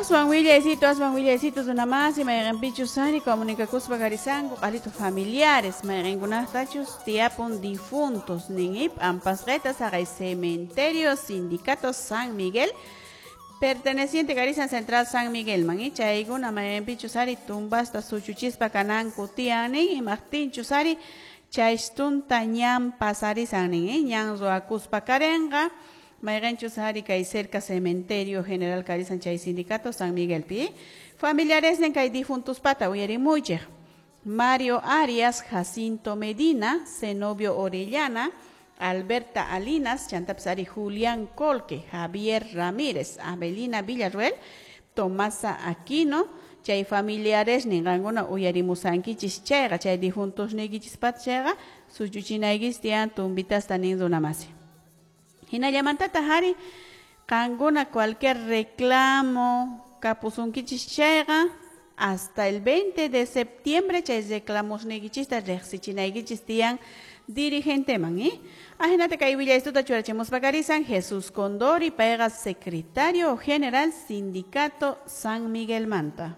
Aswan willaycito runamasi mayqinpichus ari comunicakuspa karisanku q'alitu familiares mayqinkunaqtachus tiyapun difuntos nin p'ampasqeta saqay cementerio sindicato San Miguel perteneciente karisan Central San Miguel man chaykuna mayqinpichus ari tumbasta suchuchispa kananku tiyan nin imaqtinchus ari chaystunta ñan pasarisan nin ñan ruwakuspa karenqa mayqinchus ari kay cerca cementerio general karisan chay sindicato San Miguel pi familiares nin kay difuntuspata uyarimuychik Mario Arias, Jacinto Medina, Zenobio Orellana, Alberta Alinas, chantapis ari Julián Colque, Javier Ramírez, Abelina Villarruel, Tomasa Aquino, chay familiares ninqankuna uyarimusankichis chayqa chay difuntos niykichispata chayqa suchuchinaykichis tiyan tumbitasta nin runamasi. Hinallamantataq ari qankuna cualquier reclamo kapusunkichis chayqa hasta el 20 de septiembre chay reclamos niykichista riqsichinaykichis tiyan dirigenteman, Ajinata kay willaystuta churachimuspa karisan Jesús Condori payqa secretario general sindicato San Miguel Manta.